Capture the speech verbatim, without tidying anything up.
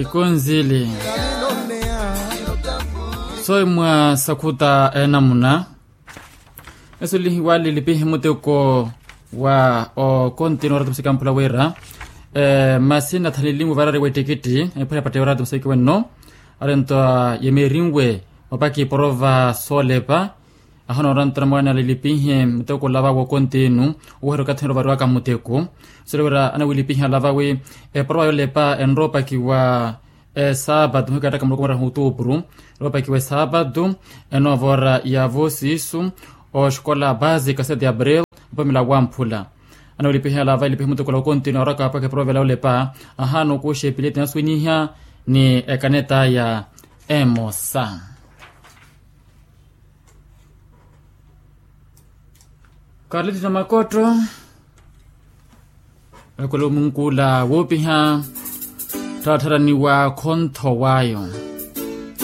Ikonzili. Soyi mwa sakhuta enamuna. Eso lihiwali lipihi muteko wa okontini orata musiki amphula wira. Masi nathanilimu varari wa ettikiti. Ephula epatte orata musiki wenno. Arento yemerinwe mapaki porova solepa. Ahana orantana mwaani alilipihe muteko olava wokontinu. Oweherya okathi nero variwaka muteko. Sole wira anawilipihe alava wi eporova yolepa enropakiwa esaapatu muhikataka muloko muraha outupuru. Enropakiwa esaapatu enovora yavo siisu oxikola basica sete abril. Apamila wamphula anawilipihe alava ilipihe muteko ola wokontinu oraka apaka eporova yolepa. Ahana okuxa epileti naswiniha ni ekaneta ya emosa. Karliti na makotto. Ekolomunkula woopiha ttattaraniwa khontho wayo.